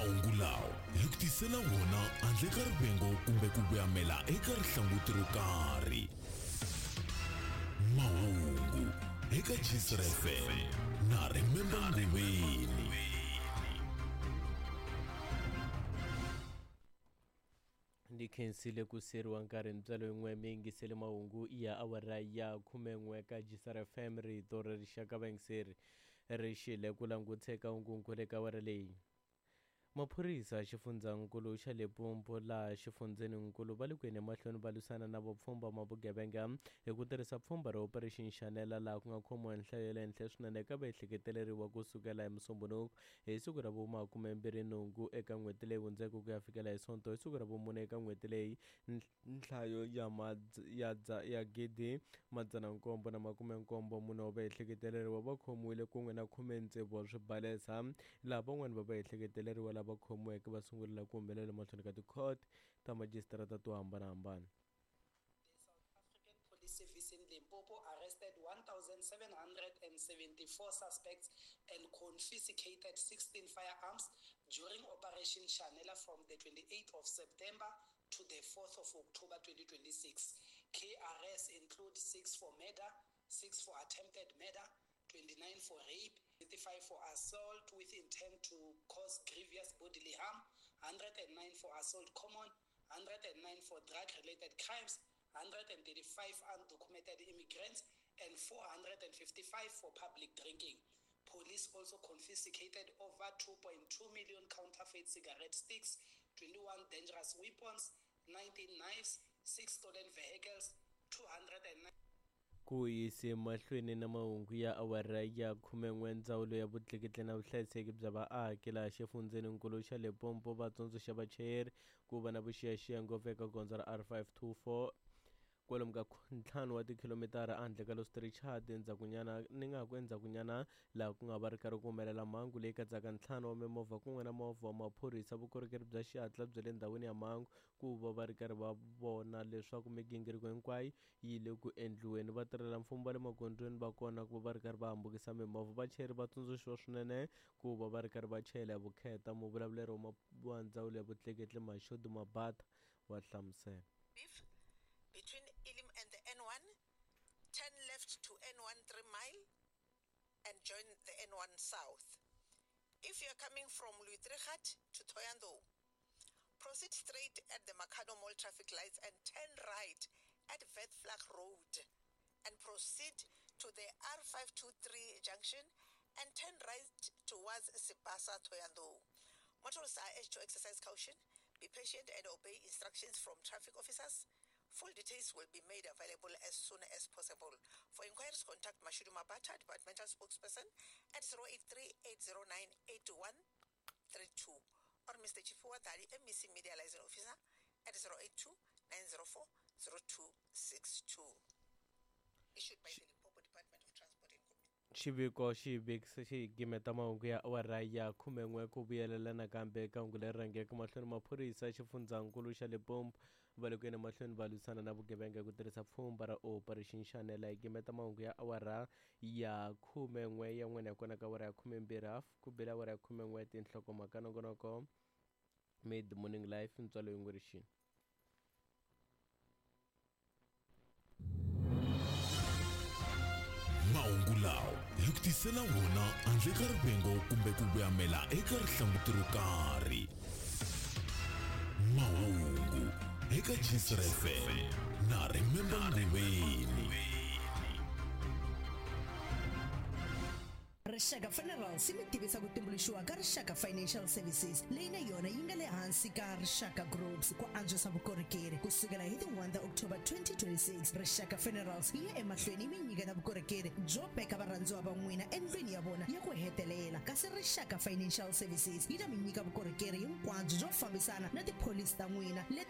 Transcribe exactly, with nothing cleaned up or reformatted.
Mahungu lawa hi ku tisela wona handle ka rivengo kumbe ku vuyamela eka rihlanguti ro karhi. Mahungu eka Gisra F M na Remember Nguveni. Ndi khensile ku seriwa nkarhi ntswalo yin'we mi yingisele mahungu ya awara ya khumen'we ka Gisra F M rito ra rixaka vayingiseri ri xile ku languteka hungunkulu eka awara leyi. Maphorisa xifundzankulu xa Limpopo laha xifundzeninkulu va le ku yeni emahlweni va lwisana na vupfhumba ma vugevenga hi ku tirhisa pfhumba ra Operation Shanela laha ku nga khomiwa nhlayo ya le henhla swinene eka vaehleketeleriwa kusukela hi Musumbhunuku hi siku ra vumakumembirhi nhungu eka n'hweti leyi hundzeke ku ya fikela hi Sonto hi siku ra vumune eka n'hweti leyi nhlayo ya ya ya gidi madzana nkombo na makume nkombo mune wa vaehleketeleriwa va khomiwile kun'we na khume tsevu wa swibalesa laha van'wani va vaehleketeleriwa lava khomiweke va sungulela ku humelela mahlweni ka tikhoto ta majisitarata to hambanahambana. The South African Police Service in Limpopo arrested one thousand seven hundred seventy-four suspects and confiscated sixteen firearms during Operation Shanela from the twenty-eighth of September to the fourth of October twenty twenty-six. K R S include six for murder, six for attempted murder, twenty-nine for rape, thirty-five for assault with intent to cause grievous bodily harm, one hundred nine for assault common, one hundred nine for drug-related crimes, one hundred thirty-five undocumented immigrants, and four hundred fifty-five for public drinking. Police also confiscated over two point two million counterfeit cigarette sticks, twenty-one dangerous weapons, nineteen knives, six stolen vehicles, two hundred nine... Ku yise mahlweni na mahungu ya awara ya khumen'we ndzawulo ya vutleketli na vuhlayiseki bya vaaki laha xifundzeninkulu xa Limpopo va tsundzuxa vachayeri ku va na vuxiyaxiya ngopfu eka gondzo ra R five two four kwalomu ka ntlhanu wa tikhilomitara ehandle ka Los Richard endzhakunyana ni nga ku endzhakunyana laha ku nga va ri karhi ku humelela mhangu leyi katsaka ntlhanu wa mimovha kun'we na movha wa maphorisa vukorhokeri bya xihatla bya le ndhawini ya mhangu ku va va ri karhi va vona leswaku migingiriko hinkwayo yi le ku endliweni. Vatirhela mfumo va le magondzweni va kona ku va va ri karhi va hambukisa mimovha. Vachayeri va tsundzuxiwa swinene ku va va ri karhi va chayela hi vukheta. Muvulavuleri wa ndzawulo ya vutleketli Mashudu Mabata wa hlamusela. Between Elim and the N one, turn left to N one three mile and join the N one south. If you are coming from Luitrigat to Thohoyandou, proceed straight at the Makhado Mall traffic lights and turn right at Vetflag Road and proceed to the R five two three junction and turn right towards Sibasa Thohoyandou. Motorists are urged to exercise caution, be patient and obey instructions from traffic officers. Full details will be made available as soon as possible. For inquiries, contact Mashudu Mabata, departmental spokesperson, at zero eight three, eight zero nine, eight one three two or Mister Chifuwa Dali, M E C Media Liaison Officer, at zero eight two, nine zero four, zero two six two. Issued by the Limpopo Department of Transport and Communications. Xiviko xi vekisa xi gimeta mahungu ya awara ya khumen'we ku vuyelela nakambe eka hungu leri rhangeke mahlweni. Maphorisa xifundzankulu xa Limpopo va le ku yeni mahlweni va lwisana na vugevenga hi ku tirhisa pfhumba ra Operation Shanela. Hi gimeta mahungu ya awara ya khumen'we ya n'wina hi kona ka awara ya khumembirhi half ku bela awara ya khumen'we tinhlokomhaka nongonoko Mid Morning Life ntswalo yin'we rixini. Mahungu lawa hi ku tisela wona handle ka rivengo kumbe ku vuyamela eka rihlanguti ro karhi. Mahungu eka Gisra F M na Remember Nguveni. Rixaka Funerals yi mi tivisa ku tumbuluxiwa ka Rixaka Financial Services leyi na yona yi nga le hansi ka Rixaka Groups ku antswisa vukorhokeri kusukela hi ti one ta October twenty twenty-six. Rixaka Funerals yi ya emahlweni yi mi nyiketa vukorhokeri byo veka varhandziwa va n'wina endlwini ya vona ya ku hetelela, kasi Rixaka Financial Services yi ta mi nyika vukorhokeri hinkwabyo byo fambisana na tipholisi ta n'wina leti